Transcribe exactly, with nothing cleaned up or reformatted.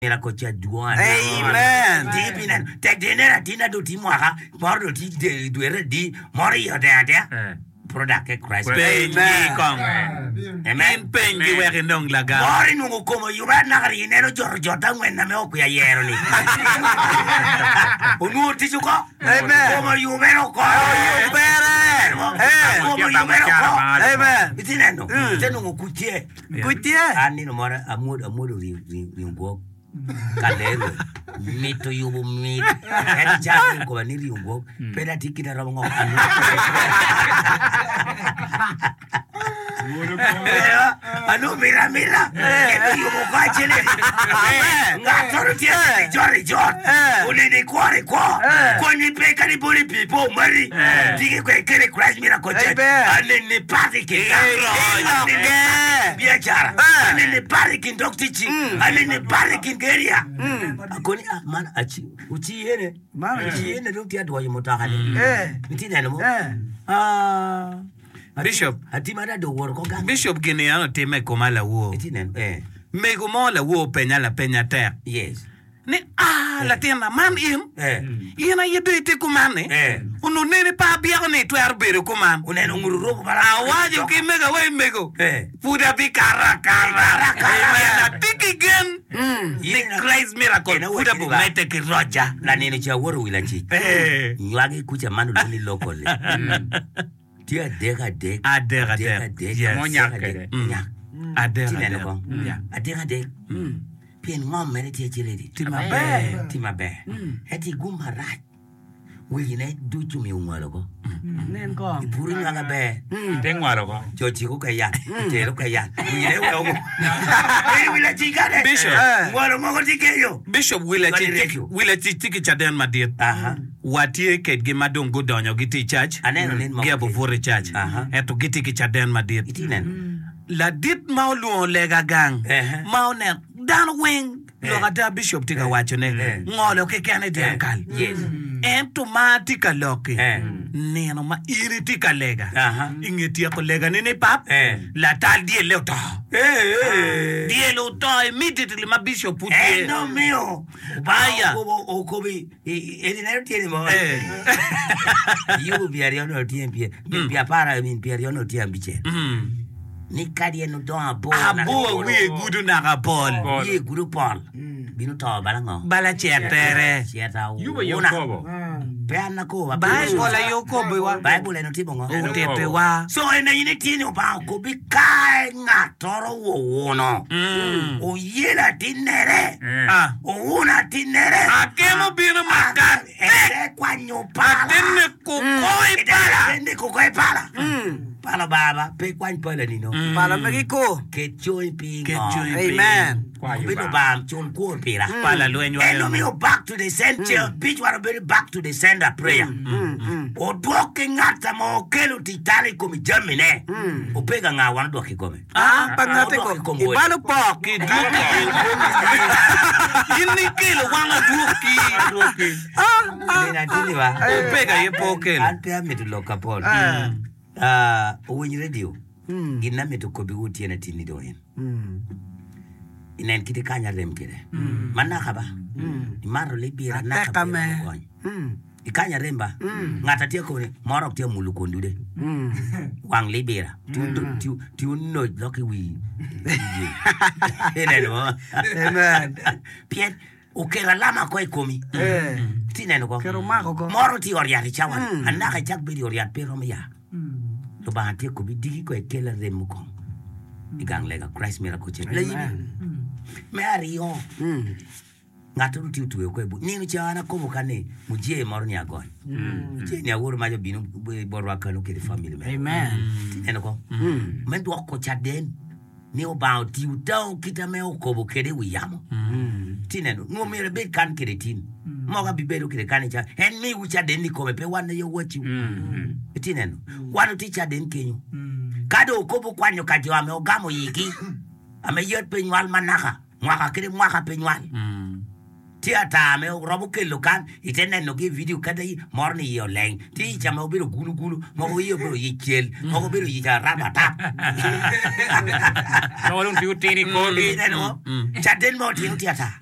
Miracle Church dwong Amen. Ti pi neno tek di ineno atin ado ti mwaka moro do ti dwere adi moro iye odeng adea Eh. product ke Christ. Peny Amen. gi kong. Amen. In peny gi wek inong lagam. Moro inwongo kome oyube anaka ri ineno joto jot angwen na me okwiya yero ni. Onwongo tic oko. Amen. Kome oyubere oko. Oyubere. Eh. Kome oyubere oko. Amen. Iti neno. Ite nongo kuc tye. Kuc tye. An nino moro amwodo amwodo ringo gwok kalero mito yubo mit en cak okoba ni ringo gwok pe da tye kite romo ngo anu mira mira kendo yubo ko acel ngat oro tye ijot ijot onene ikwor ikwo konyi pe kadi boli pi po mari tiki kwe kele Christ miracle church Amen. anene pati ki Ilokke. biacara anene pati kin dog ticci anene pati kin area akoni ah man aci uci yene Man uci yene dong tye adwoyo mutoka ni Eh. iti neno mo Eh. ah Bishop. atima da do woro ko gang Bishop gini an otime i koma lawor. iti neno eh Mego mo lawor penya lapenya tek. yes Ni ah latina man in. eh In aye do iti kuman ni. Eh. Ono nene pa abyeko ni itwero bedo kuman. oneno nguru robo bala Awaco ki mego we mego. Eh. Pud abikaro akara. Akara. Amen. Atye ki gen. Ni Christ miracle Ena pud wacci ba. abomete ki roja. laneno ca aworo wi lacic Eh. nywagi kuca man olwongo ni local tye adek adek Adek, adek. adek Yes. Monyak adek, kede. nyak Adek Ti neno adek. kong Yeah. adek adek pien ngom mere tye acel edi Tye maber. tye maber ento igum marac wigine ducu omiyo ongolo ko Nen kong. ipuro nywag aber Te ngwalo ko. jo ciko ka yat tero ka yat wigine weo eri wi lacic kane Bishop. Eh. ngolo moko tye kenyo Bishop Wila Cwali Cic radio. Wila Cic tye ki caden madit. Aha. Watye kedgi ma dong gudonyo gitye i cac. Aneno nin moko Gia bubuto i cac. Aha. Ento gitye ki caden madit. iti neno Ladit ma olwongo lega gang Ehe. ma oneno dano weng lok ada Bishop tye ka wacone Eh. ngolo keken i dyang kal. Yes. Ento ma tye ka loki Eh. nino ma in itye ka lega Aha. i nge tyeko legani ni pap Eh. latal dyelle oto Eh. dyel oto immediately ma Bishop pud tye En omiyo Aya. okobi eni neno tye ni mo Eh. yubu piero aryo no tye pie pi apar min piero aryo no tye abicel Mm. ni kadi en odongo abor Abo wiye gudo naka pol Pol. wiye gudo pol bino to bala ngo bala cer tere ceta Yubo yo wuna kobo. pe an akobo Baibul aye okobowa Baibul en otimo ngo otitiwa so en aye ni tye ni Obanga okobi ka ng'atoro wuwuno oyelo atinere Eh. Ah. owuno atinere akemo bino makat ete kwanyo pala atene kukoi pala Ete kukoi pala pala baba pe kwany pala nino Pala megi ko. ket coy piny Ket ngo. coy piny. Amen. Kwayo Obedo ba. bam cul kwor pira pala lweny wa En omiyo back to the center bic war obedo back to the sender prayer odwok ki ng'at ma okelo tic talo i kom jamine opega ng'a wan odwok i kome Ah, Pa ng'ate Odwok i ko. kom wode. Ibalo pok. Kidwoki in ikelo wang adwoki Adwoki. Nina atini ba Opega aye pe okelo an pe amito lok kapol Ah, owiny radio gin na mito kobiwu otieno atini do en inen kite kany arem kede manaka ba imato libira naka Ateka pe me. ogony ikany arem ba ng'at atye koni moro ok tye mulo kondude wang libira ti onoc lok i wi ineno mo Amen. pien okelo alama ko i komi Eh. ti neno ko Kero mako ko. moro tye i ot yat i cawani anaka icak bedo i ot yat pe romo ya Lubanga tye kobi digi ko ikel arem mukwongo i gang lega Christ Miracle Church Layibi me aryo ng'at oro tye otweyo ko i buc nino ca an akobo ka ni mujee moro ni agony mujee ni aworo mac obino botwa kano kede family mere Amen. Ti neno ko me dwoko caden ni Obanga otiyo tao kite ame okobo kede i wi yamo ti neno nwo myero ibed kan kede tin moko abibedo kede kan ica en miwu caden i kome pe wan aye owacciwu iti neno wan otye caden kenyo ka dong okobo kwanyo ka jo ame ogamo yigi ame yet pe nywal manaka mwaka kede mwaka pe nywal Tye ata me romo kelo kan ite nenogi i vidio kadi moro ni iye oleng. Tye i ca ma obedo gulu gulu, mogo iye obedo yic cel, mogo obedo yic arab atap. Mogo dong tye otino i korgi. Ineno? Caden ma otino tye ata.